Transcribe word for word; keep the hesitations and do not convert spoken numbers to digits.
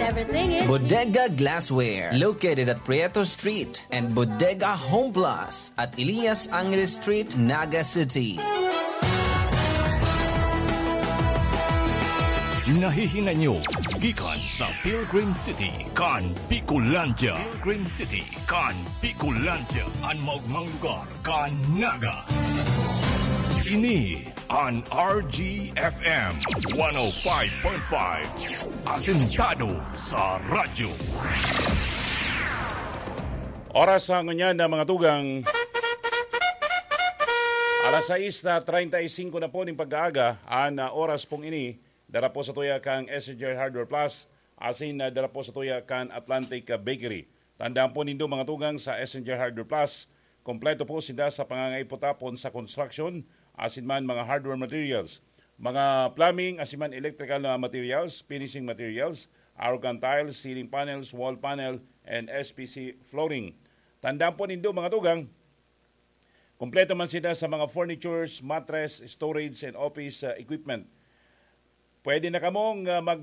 Everything is Bodega Glassware, located at Prieto Street and Bodega Home Plus at Elias Angeles Street, Naga City. Nahihinay nyo gikan sa Pilgrim City kan Bicolandia. Pilgrim City kan Bicolandia, an maogmang lugar kan Naga. Ini an R G F M one oh five point five, asentado sa radyo. Oras sa ngunyan na mga tugang. Alas sais na treinta y cinco na po ning pag-aaga, an, ah, oras pong ini, dara po sa tuya kang S N J Hardware Plus, asin, ah, dara po sa tuya kan Atlantic, ah, Bakery. Tandaan po nindo, mga tugang, sa S N J Hardware Plus, kompleto po sinda sa pangangaipo tapon sa construction, asin man mga hardware materials, mga plumbing, asin man electrical na materials, finishing materials, arrogan tiles, ceiling panels, wall panel, and S P C flooring. Tandaan po nindo, mga tugang, kompleto man sila sa mga furnitures, mattress, storage, and office, uh, equipment. Pwede na kamong, uh, mag-